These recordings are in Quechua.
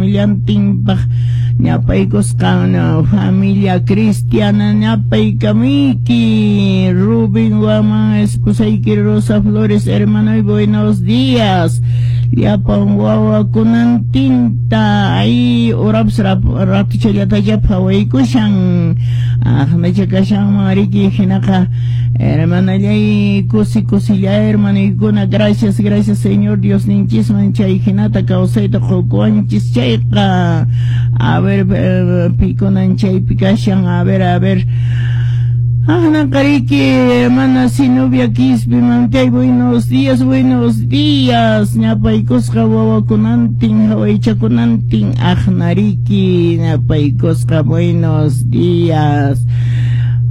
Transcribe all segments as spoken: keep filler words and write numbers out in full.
Familiantinpaq ñapaykusqan familia cristiana ñapaykamuyki. Rubén Guaman, esposayki Rosa Flores, hermano, buenos días. Llapan wawakunantinta ay urapas ratuchallatacha phawaykushan aqnacha kashanman riki. Hinaqa, hermanallay, kusi kusilla, hermanoykuna, gracias, gracias Señor Dios ninchisman chay hinata kawsayta qukuwanchis chayqa. A ver, pikunan chaypi kashan? A ver, a ver. Aqnaqariki, hermana Zenobia Quispe mamtay, buenos días, buenos días. Ñapaykusqa wawakunantin, hawaychakunantin, aqnariki, ñapaykusqa, buenos días.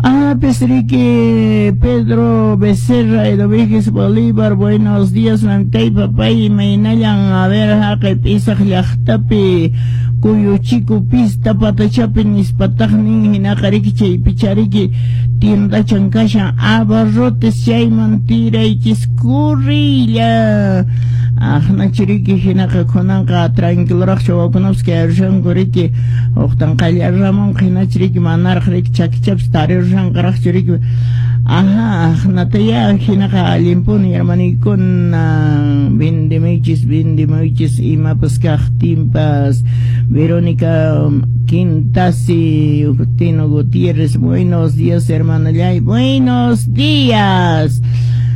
Ah, riki, Pedro Becerra, Edoviges Bolívar, buenos días, mamtay, papay, imaynallan? A ver, haqay P'isaq llaqtapi, Kuyuchiku pista patachapi nispataqnin. Hinaqa riki chaypichariki tiendachan kashan abarrotes, chayman tiraychis kurrilla. Aqnachiriki hinaqa kunanqa tranquiloraqcha wawakunapas kayarushanku riki, uqtan qallarramunqa hinachiriki manaraq riki chakichapas tarirushanqaraqchu riki. Ajá, aqnataya hinaqa allinpuni, hermaniykuna, vendemuychis, vendemuychis imapas kaqtinpas. Verónica Quintasi, Tino Gutiérrez, buenos días, hermanallay, buenos días.